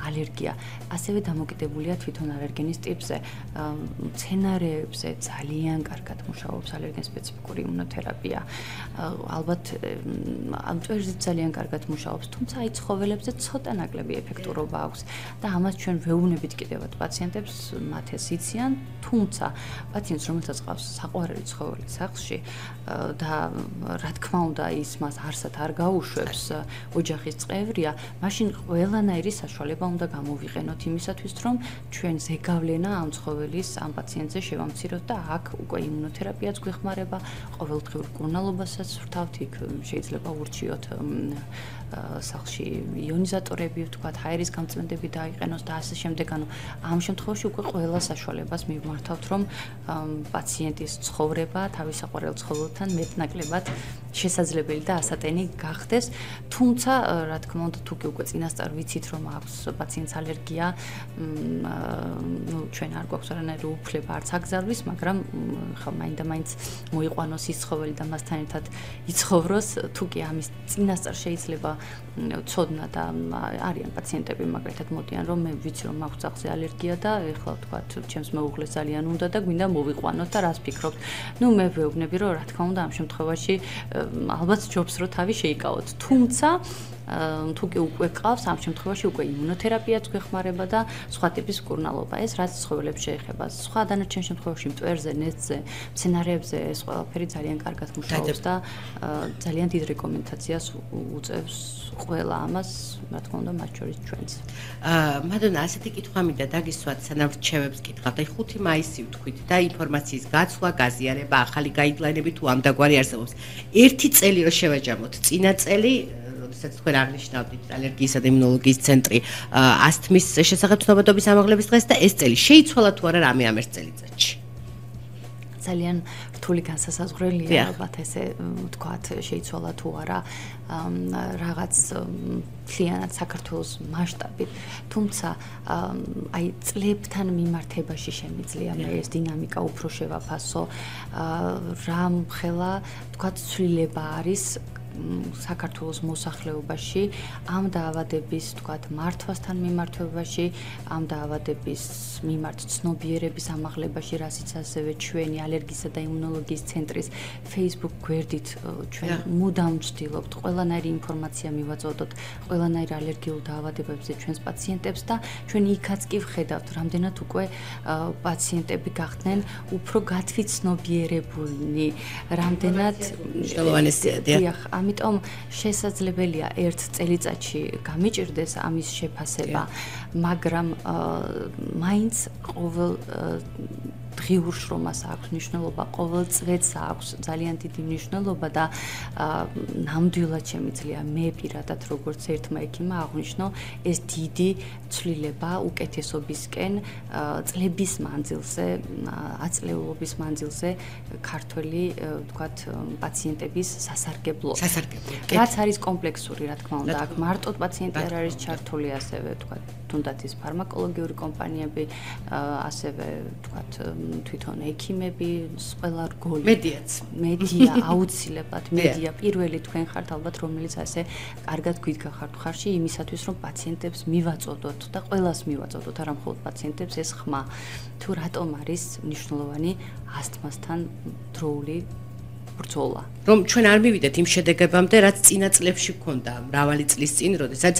ალერგია. ასევე დამოკიდებულია თვითონ ალერგენის ტიპზე. მცენარეებზე ძალიან კარგად მუშაობს ალერგენ სპეციფიკური იმუნოთერაპია. ალბათ ამ წვერზე ძალიან კარგად მუშაობს, თუმცა აი ცხოველებზე ცოტა ნაკლები ეფექტურობა აქვს და ამას ჩვენ ვეუბნებით კიდევაც პაციენტებს, მათ ეს იციან, თუმცა პაციენტს რომელსაც ყავს საყვარელი ცხოველი სახლში და რა თქმა უნდა ის მას არსად არ გაუშვებს, ოჯახის წევრია, მაშინ ყველანაირი საშუალება უნდა გამოვიყენოთ იმისათვის, რომ ჩვენ ზეგავლენა ამ ცხოველის ამ პაციენტზე შევამციროთ და აქ უკვე იმუნოთერაპიაც გვეხმარება, ყოველდღიურ მკურნალობასაც ვთავთ, იქ შეიძლება ურჩიოთ სახლში იონიზატორები, ვთქვათ, ჰაერის გამწმენდები დაიყენოს და ასე შემდეგ. ანუ ამ შემთხვევაში უკვე ყველა საშუალებას მივმართავთ, რომ პაციენტის ცხოვრება თავის საყვარელ ცხოველთან მეტნაკლებად შესაძლებელი და ასატენი გახდეს. თუმცა, რა თქმა უნდა, თუ კი უკვე წინასწარ ვიცით, რომ აქვს პაციენტს ალერგია, ჩვენ არ გვაქვს არანაირი უფლება არც აკრძალვის, მაგრამ ხა მაინდა-მაინც მოიყვანოს ის ცხოველი და მასთან ერთად იცხოვროს, თუ კი ამის წინასწარ შეიძლება ცოდნა და არიან პაციენტები მაგალითად მოდიან, რომ მე ვიცი, რომ მაქვს ძაღლზე ალერგია და ეხლა ვთქვათ, ჩემს მეუღლეს ძალიან უნდა და გვინდა მოვიყვანოთ და რას ფიქრობთ? ნუ მე ვეუბნები, რომ რა თქმა უნდა, ამ შემთხვევაში ალბათ ჯობს, რომ თავი შეიკავოთ. თუმცა თუ კი უკვე ყავს, ამ შემთხვევაში უკვე იმუნოთერაპიაც გვეხმარება და სხვა ტიპის მკურნალობა. ეს რაც ცხოველებს შეეხება. სხვა დანარჩენ შემთხვევაში მტვერზე, ნესტზე, მცენარეებზე ეს ყველაფერი ძალიან კარგად მუშაობს და ძალიან დიდ რეკომენდაციას უწევს ყველა ამას, რა თქმა უნდა, მათ შორის ჩვენც. მადონა, ასეთი კითხვა მინდა დაგისვათ, სანამ რჩევებს კითხავთ. აი 5 მაისი ვთქვით და ინფორმაციის გაცვლა, გაზიარება, ახალი გაიდლაინები თუ ამდაგვარი არსებობს. ერთი წელი რო შევაჯამოთ, წინა წელი როდესაც თქვენ აღნიშნავდით ალერგიისა და იმუნოლოგიის ცენტრი ასთმის შესახებ ცნობადობის ამაღლების დღეს და ეს წელი შეიცვალა თუ არა რამე ამ ერთ წელიწადში? ძალიან რთული განსასაზღვრელია, ალბათ ესე ვთქვათ, შეიცვალა თუ არა რაღაც მთლიანად საქართველოს მასშტაბით, თუმცა აი წლებთან მიმართებაში შემიძლია მე ეს დინამიკა უფრო შევაფასო, რამხელა ვთქვათ ცვლილება არის საქართველოს მოსახლეობაში ამ დაავადების, ვთქვათ, მართვასთან მიმართებაში, ამ დაავადების მიმართ ცნობიერების ამაღლებაში, რასაც ასევე ჩვენი ალერგისა და იმუნოლოგიის ცენტრის Facebook გვერდით ჩვენ მუდამ ვცდილობთ ყველანაირი ინფორმაცია მივაწოდოთ ყველანაირ ალერგიულ დაავადებებზე ჩვენს პაციენტებს და ჩვენ იქაც კი ვხედავთ, რამდენად უკვე პაციენტები გახდნენ უფრო გათვითცნობიერებულნი, რამდენად ამიტომ შესაძლებელია ერთ წელიწადში გამიჭირდეს ამის შეფასება, მაგრამ მაინც ყოველ დღიურ შრომას აქვს მნიშვნელობა, ყოველ წლებს აქვს ძალიან დიდი მნიშვნელობა და ნამდვილად შემიძლია მე პირადად როგორც ერთმა ექიმმა აღვნიშნო ეს დიდი ცვლილება უკეთესობისკენ წლების მანძილზე, აწლეულობის მანძილზე ქართველი, ვთქვათ, პაციენტების სასარგებლო. რაც არის კომპლექსური, რა თქმა უნდა, აქ მარტო პაციენტი არ არის ჩართული, ასევე ვთქვათ, თუნდაც ის ფარმაკოლოგიური კომპანიები, ასევე ვთქვათ, თვითონ ექიმები, ყველა რგოლი. მედია აუცილებლად, მედია პირველი თქვენ ხართ ალბათ, რომელიც ასე კარგად გვიდგახართ ხარში იმისათვის, რომ პაციენტებს მივაწოდოთ და ყველას მივაწოდოთ, არა მხოლოდ პაციენტებს ეს ხმა, თუ რატომ არის მნიშვნელოვანი ასთმასთან დროული ბრძოლა. რომ ჩვენ არ მივიდეთ იმ შედეგებამდე, რაც წინა წლებში გქონდა, მრავალი წლის წინ, როდესაც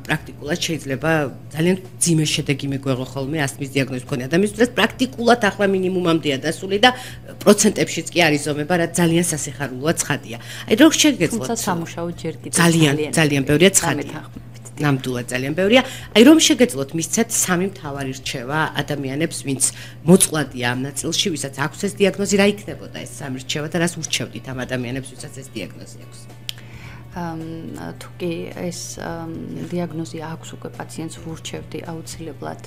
პრაქტიკულად შეიძლება ძალიან ძიმე შედეგი მიგვეღო ხოლმე ასთმის დიაგნოზის მქონე ადამიანის, რაც პრაქტიკულად ახლა მინიმუმამდეა დასული და პროცენტებშიც კი არის ზომება, რაც ძალიან სასიხარულოა ცხადია. აი როგორ შეგეძლოთ? თუმცა სამუშაო ჯერ კიდევ ძალიან ბევრია ცხადია. ნამდვილად ძალიან ბევრია. აი რომ შეგეძლოთ მისცეთ სამი მთავარი რჩევა ადამიანებს, ვინც მოწყვლადია ამ ნაწილში, ვისაც აქვს ეს დიაგნოზი, რა იქნებოდა ეს სამი რჩევა და რას ურჩევდით ამ ადამიანებს, ვისაც ეს დიაგნოზი აქვს? თუ კი ეს დიაგნოზი აქვს უკვე პაციენტს ვურჩევდი აუცილებლად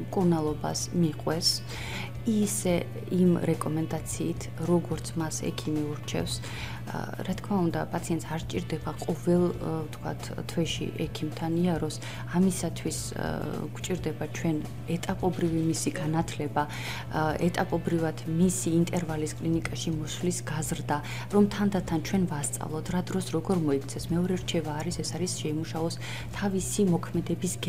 მკურნალობას მიყვეს ისე იმ რეკომენდაციით, როგორც მას ექიმი ურჩევს, რა თქმა უნდა, პაციენტს არ ჭირდება ყოველ, ვთქვათ, თვეში ექიმთან იაროს, ამისათვის გვჭირდება ჩვენ ეტაპობრივი მისი განათლება, ეტაპობრივად მისი ინტერვალის კლინიკაში მოსვლის გაზრდა, რომ თანდათან ჩვენ ვასწავლოთ, რა დროს როგორ მოიქცეს. მეორე რჩევა არის, ეს არის შეიმუშაოს თავისი მოქმედების